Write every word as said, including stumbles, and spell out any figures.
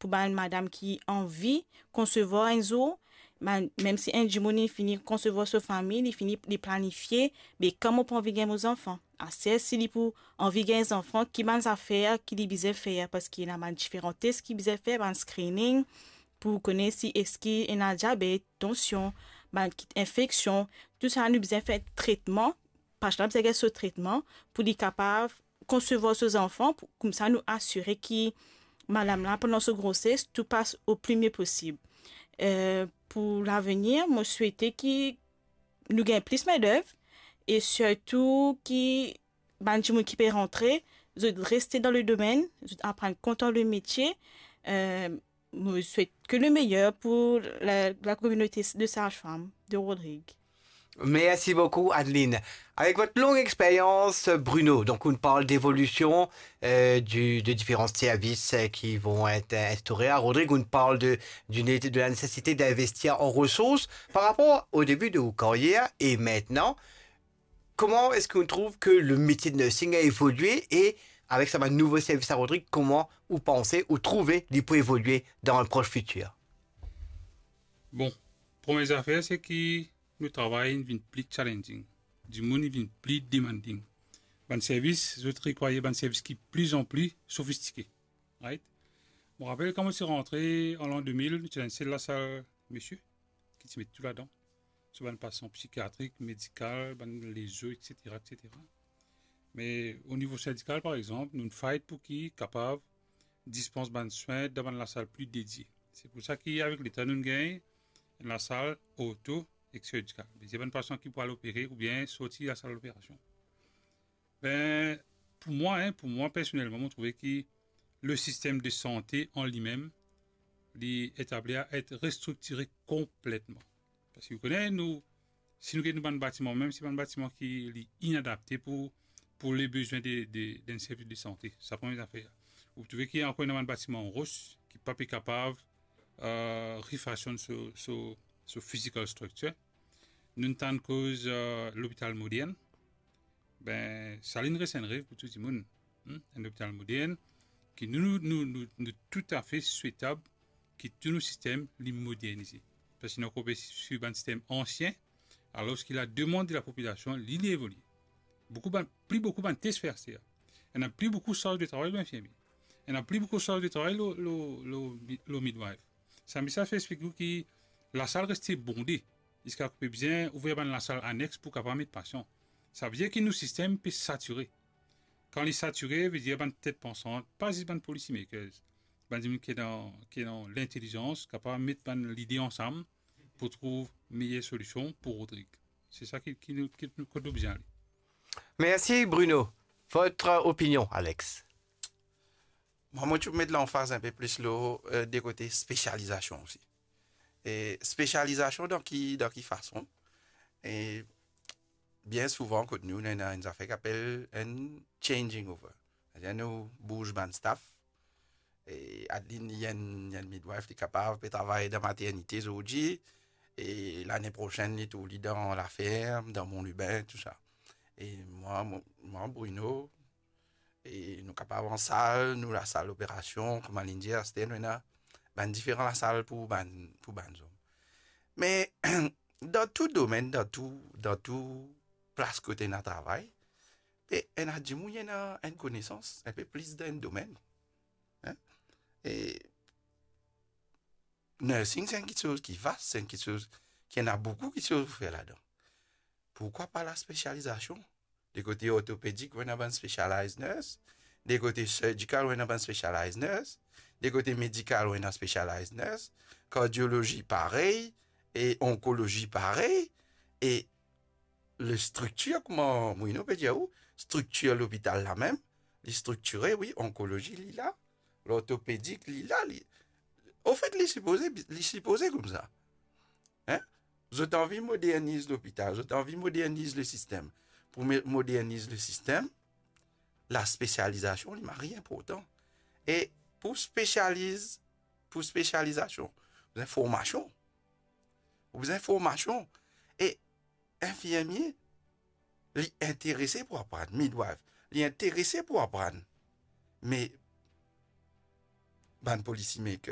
pou bann madam ki anvi konsevwar enn zour, bann, mem si enn dimoun li fini konsevwar so fami, li fini, li planifie, be kan mo pou anvi gagn mo zanfan. Aster si li pou anvi gagn zanfan, ki bann zafer ki li bizin fer, parski ena bann diferan tes ki bizin fer, bann screening, pou kone si eski ena diabet, tansion, bann kit infeksion, tou sa nou bizin fer tretman, patient la bizin gagn so tretman pou li kapav konsevwar so zanfan, pou, koumsa nou asire ki madam la, pandan so groses, tou pas o pli mie posib. Eh, pou lavenir, mo swete ki nou gagn plis mendev e sirtou ki bann dimoun ki pe rantre, zot reste dan le domenn, zot aprann kontan le metie. Eh, mo swet ke le meyer pou la, la kominote de saj-fam de Rodrig. Merci beaucoup, Adeline. Avec votre longue expérience, Bruno, donc on parle d'évolution euh, du, de différents services euh, qui vont être instaurés à Rodrig, on parle de, d'une, de la nécessité d'investir en ressources par rapport au début de votre carrière et maintenant. Comment est-ce qu'on trouve que le métier de nursing a évolué et avec sa nouveau service à Rodrig, comment vous pensez ou trouvez qu'il peut évoluer dans un proche futur? Bon, première affaire, c'est que nou travay inn vinn pli challenging. Dimoun inn vinn pli demanding. Bann servis, zot rekwir bann servis ki plizanpli sofistike. Right? Mo rapel kan mo ti rantre an lan de mil, nou ti ena enn sel lasal misie, ki ti met tou ladan. So bann pasian psikiatrik, medikal, bann lezo, et cetera, et cetera. Me o nivo sindikal, par exanp, nou fight pou ki kapav dispans bann swin dan bann lasal pli dedie. Se pou sa ki avek letan nou gagn enn lasal orto ek sirdikal. Vedir bann pasian ki pou al opere oubien sorti lasal loperasion. Be, pou mwa, en, pou mwa personelman, mo trouve ki le sistem de sante an limem, li etabli a et restriktire konpletman. Parski ou kone, nou, si nou get nou bann batiman, mem si bann batiman ki li inadapte pou, pou le bizwin de, de, d'enn servis de sante. Sa premie zafer. Ou trouve ki ankor ena bann batiman ros ki pa pe kapav uh, refasion so, so, so physical structure. Nou tann koz uh, lopital modern. Be, sa li res enn rev pou tou dimoun. Hmm? Enn lopital modern ki nou, nou, nou, nou, nou toutafe swetab ki tou nou sistem li modernize. Parski nou ankor pe swiv bann sistem ansien, alor ki la demann de lapopilasion, li, li evolie. Boukou bann, pli boukou bann tes fer aster. Ena pli boukou sarz de travay lor infirmie. Ena pli boukou sarz de travay lor, lor, lor, lor midwife. Sa, mi sa fer explik ou ki lasal reste bonde, ziska pe bizin ouver bann lasal anex pou kapav met pasian. Savedir ki nou sistem pe satire. Kan li satire, vedir bann tet pansant, pa zis bann policy makers, bann dimoun ki dan, ki dan lintelizans, kapav met bann lide ansam pou trouv meyer solision pou Rodrig. Se sa ki, ki nou, ki nou, kot nou bizin ale. Merci Bruno. Votre opinion, Alex? Mwa, mo ti pou met lanfaz inpe plis lor euh, de kote spesializasion osi. E spesializasion dan ki, dan ki fason? E bien souvan kot nou, nou ena enn zafer ki apel enn changing over. Savedir nou bouz bann staff. E Adeline, li enn, li enn midwife, li kapav pe travay dan maternite zordi. E lane prosenn, li tou li dan laferm, dan Mont Lubin, tou sa. E mwa, mo, mwa, Bruno, e nou kapav ansal, nou lasal loperasion, kouma linn dir, aster nou ena bann diferan lasal pou bann, pou bann zom. Me dan tou domenn, dan tou, dan tou plas kot ena travay, pe ena dimoun ena enn konesans inpe plis dan enn domenn. Hein? E nursing, se enn kiksoz ki vas, se enn kiksoz ki ena boukou kiksoz pou fer ladan. Pourkwa pa laspesializasion? De kote ortopedik, ou ena bann specialized nurse. De kote serdikal, ou ena bann specialized nurse. De kote medikal, ou ena specialized nurse. Kardiolozi, parey. E onkolozi, parey. E le striktir, kouma Bruno pe dir ou, striktir lopital la mem, li striktire, wi, onkolozi, li la, lortopedik, li la, li, anfet, li sipoze, li sipoze koumsa. Hein? Zot anvi moderniz lopital, zot anvi moderniz le sistem. Pou mo-, moderniz le sistem, laspesializasion, li mari inportan. E pou spesializ, pou spesializasion, ou bizin formasion. Ou bizin formasion. E infirmie, li interese pou aprann, midwife, li interese pou aprann. Me bann policy maker,